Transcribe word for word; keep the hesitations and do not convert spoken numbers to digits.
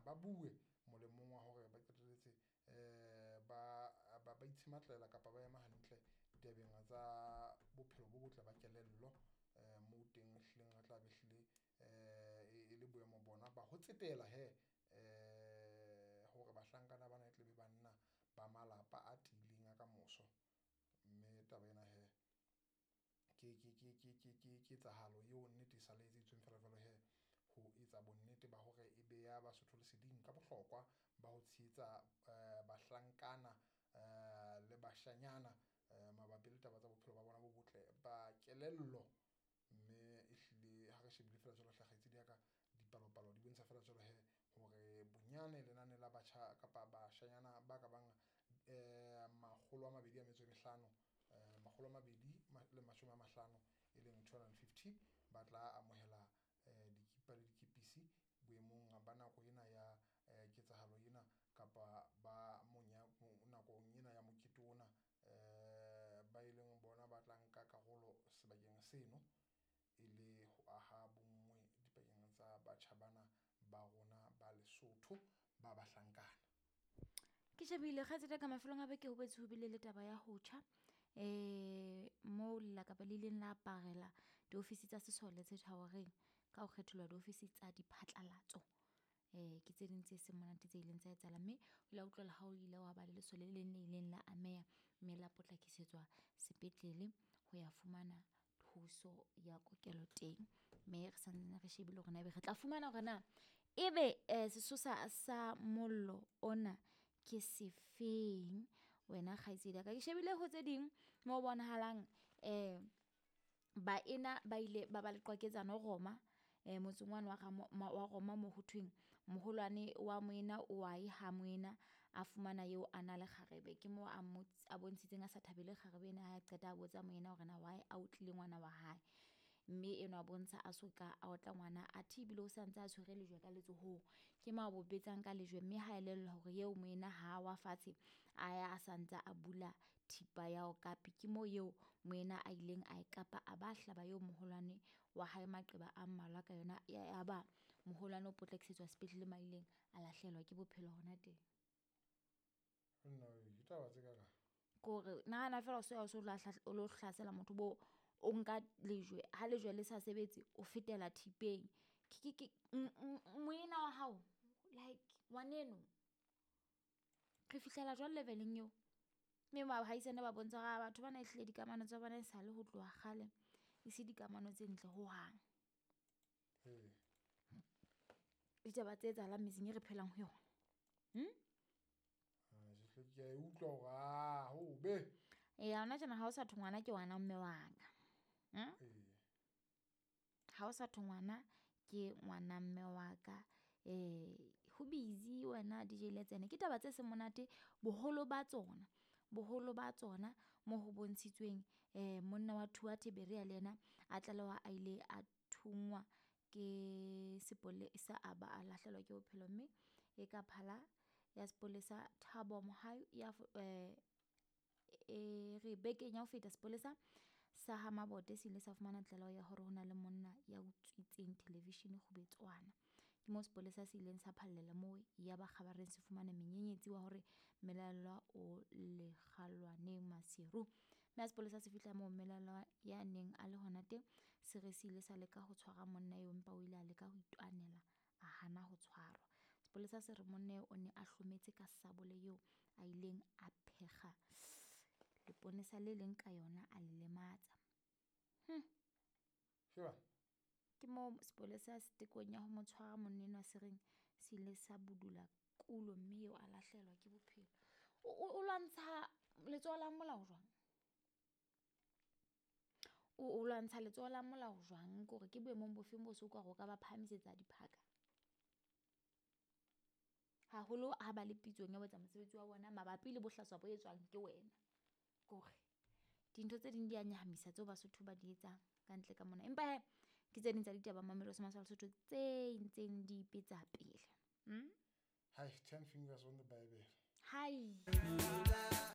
ba bue molemong wa hore ba qetelletse um ba ba itshematlela kapa ba ema hantle ditabeng tsa bophelo bo botle ba kelello. Um moo teng ehlileng re tla be hlile um e le boemo bona ba ho tsetela he um hore bahlankana bana e tle be banna ba malapa a tiileng a ka moso. Mme taba ena he ke ke ke ke ke ke ketsahalo eo nnete e sa le etseditsweng feela jwalo he ho etsa bonnete ba hore e beha Basotho leseding ka bohlokwa ba ho tshehetsa um bahlankana um le bashanyana um mabapi le taba tsa bophelo ba bona bo botle ba kelello. Mme ehlile ha re shebile feela jwalo hle kgaitsedi ya ka, dipalopalo di bontsha feela jwalo he hore bonyane lenane la batjha kapa bashanyana ba ka bang um makgolo a mabedi a metso e mehlano, um makgolo a mabedi le mashome a mahlano e leng two hundred and fifty ba tla amohela um dikipa le dikepisi boemong ba nako ena ya um ketsahalo ena kapa ba monya nakong ena ya mokete ona um ba e leng bona ba tla nka karolo sebakeng seno e le ho aha bonngwe dipakeng tsa batjha bana ba rona ba Lesotho ba bahlankana. Ke shebile kgaitsedi ka mafelong a beke ho boetse ho bile le taba ya ho tjha um moo lelakabe le ileng la aparela diofisi tsa sesole tse Thawereng ka ho kgetholwa diofisi tsa diphatlalatso. Um ke tse ding tse seng monate tse ileng tsa etsahala, mme o ile wa utlwela ha o ile wa ba le lesole le leng le ileng la ameha mme la potlakisetswa sepetlele ho ya fumana thuso ya kokelo teng. Mme re santsane re shebile hore na ebe re tla fumana hore na ebe um sesosa sa mollo ona ke sefeng wena kgaitsedi ya ka. Ke shebile ho tse ding mo bonahalang um baena ba ile ba ba le qwaketsano Roma um motseng wane wa wa Roma mo ho thweng moholwane wa moena o wa ye ha moena a fumana eo a na le kgarebe. Ke mo a mo a bontshitseng a sa thabele kgarebe ena ha qeta a botsa moena hore na why a otlile ngwana wa hae. Mme enwa a bontsha a so ka a otla ngwana athe ebile o santse a tshwere lejwe ka letsohong. Ke mo a bo betsang ka lejwe mme ha elellwa hore eo moena ha wa fatshe a ya a santse a bula thipa ya okapi. Ke mo eo moena a ileng a e kapa a ba hlaba eo moholwane wa hae maqeba a mmalwa ka yona. Ya ba moholwane o potlakisetswa sepetlele ma ileng a lahlehelwa ke bophelo hona teng. Nna we, ditaba tse kakang. Ke hore nahana feela o so ya o so o lo hlasela motho bo o nka lejwe, ha lejwe le sa sebetse o fetela thipeng. Ke ke ke moena wa hao like ngwaneno re fihlela jwang level-eng eo? Mme baahisane ba bontsha hore batho bana ehlile dikamano tsa bona e sale ho tloha kgale e se dikamano tse ntle hohang. Ee. Ditaba tse etsahalang metseng e re phelang ho yona. Hmm? Ah, ke a e utlwa hore ah, hobe. Ee, hona tjena ha o sa thwe ngwana ke ngwana mme wa ka. Hmm? Ee. Ha o sa thwe ngwana ke ngwana mme wa ka. Eh ho busy wena D J Letsene. Ke taba tse seng monate boholo ba tsona. Boholo ba tsona mo ho bontshitsweng eh monna wa Thuathe Berea le yena a tlalewa a ile a thungwa ke sepolesa a ba a lahlehelwa ke bophelo, mme e ka phala ya sepolesa Thabo Mohau ya eh e re bekeng ya ho feta sepolesa sa ha Mabote se ile sa fumana tlaleho ya hore ho na le monna ya utswitseng television Kgubetswana. Ke moo sepolesa se ileng sa phallela moo ya ba kgabareng se fumana menyenyetsi wa hore mmelaellwa o lekgalwaneng Maseru. Mme ha sepolesa se fihla moo mmelaellwa ya neng a le hona teng se re se ile sa leka ho tshwara monna eo, empa o ile a leka ho itwanela a hana ho tshwarwa. Sepolesa se re monna eo o ne a hlometse ka sabole eo a ileng a phekga leponesa le leng ka yona a le lematsa. Hm. Sheba. Ke moo sepolesa se tekong ya ho mo tshwara monna enwa se reng se ile sa budula kulo mme eo a lahlehelwa ke bophelo. O, o, o lwantsha letsoho la molao jwang? O, o lwantsha letsoho la molao jwang? Ke hore ke boemong bofeng bo so ka hore o ka ba phahamisetsa diphaka? Haholo ha ba le pitsong ya ho etsa mosebetsi wa bona mabapi le bohlaswa bo etswang ke wena. Ke hore dintho tse ding di a nyahamisa tseo Basotho ba di etsang ka ntle ka mona. Empa he ke tse ding tsa ditaba Mamelodi sa Lesotho tse ntseng di ipetsa pele. Hmm? Hai, ten fingers on the Bible. Hai.